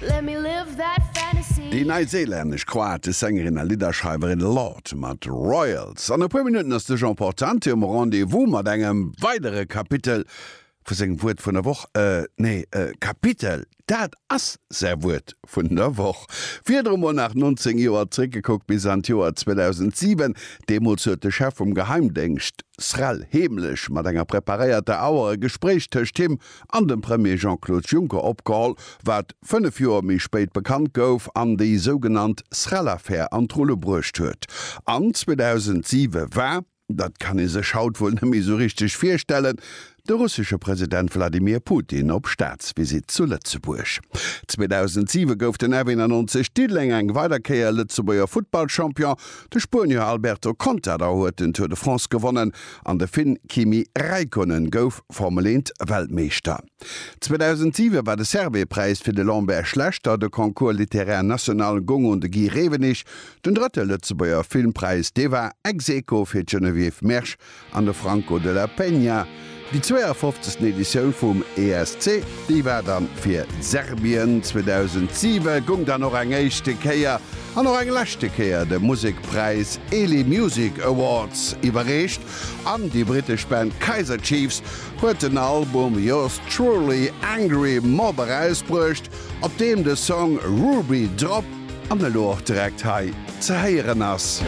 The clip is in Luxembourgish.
Déi neiséilännesch kroatesch Sängerin a Lidderschreiwerin Lorde mat Royals. An e puer Minutten ass de Jean Portante um Rendez-vous mat engem weidere Kapitel vu sengem Wuert vun der Woch. Nee, Kapitel, dat ass säi Wuert vun der Woch. Virdru mol nach 19 Joer zréckgekuckt bis an d'Joer 2007. Deemools huet de Chef vum Geheimdéngscht SREL heemlech mat enger preparéierter Auer e Gespréich tëscht him an dem Premier Jean-Claude Juncker opgeholl, wat 5 Joer méi spéit bekannt gouf an déi sougenannt SREL-Affär an d'Rulle bruecht huet. An 2007 war, dat kann ee sech haut wuel net méi esou richteg virstellen, de russesche President Wladimir Putin op Staatsvisitt zu Lëtzebuerg. 2007 gouf den F91 Diddeleng eng weider Kéier Lëtzebuerger Futtballchampion, de Spuenier Alberto Contador huet den Tour de France gewonnen an de Finn Kimi Räikkönen gouf Formel 1 Weltmeeschter. 2007 war de Servais-Präis fir de Lambert Schlechter, de Concours littéraire national goung un de Guy Rewenig, den drëtte Lëtzebuerger Filmpräis, dee war ex aequo fir d'Geneviève Mersch an de Franco de la Peña. Déi 52. Editioun vum ESC, déi war dann fir Serbien. 2007 gung dann och eng éischte Kéier an och eng leschte Kéier de Musekpräis Eli Music Awards iwwerreecht an déi brittesch Band Kaiser Chiefs huet den Album Yours Truly Angry Mob erausbruecht, op deem de Song Ruby Drop an elo och direkt hei ze héieren ass.